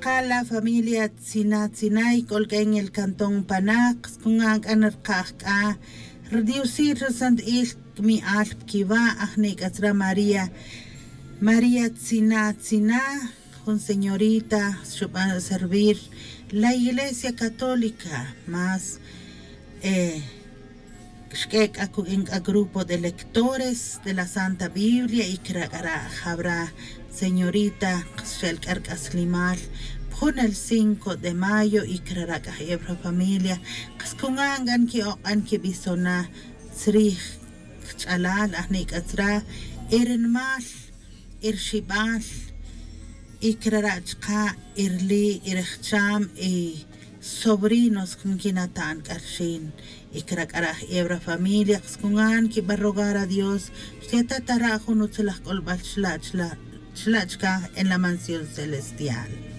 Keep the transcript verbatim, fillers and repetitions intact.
Kala familia tzina tzina y k'ol k'a en el cantón pana, qas kun k'an rkaj k'a rdiosil rsantil, mi'al pkiwa' ajni' k'a tzra maría. María tzina tzina, jun señorita xub'an servir la iglesia católica más. Xk'e' k'a kuk'in k'a grupo de lectores de la santa biblia y krak'ara' jawra señorita, xel k'a rk'aslimal pjun el cinco de mayo y krara' k'a jebra familia. Qas kun k'an ki'oq'an kib'isona tzrij kch'alal ajni' k'a tzra irnmal, irxib'al, y krara' chqa' irli' irjcham y sobrinos nkinata'n k'a rxin. Y krak'ara' jebra familia qas kun k'an kib'an rogar a dios xtiatatara' jun utzalaj k'olb'al chla' chla' chkaj en la mansión celestial.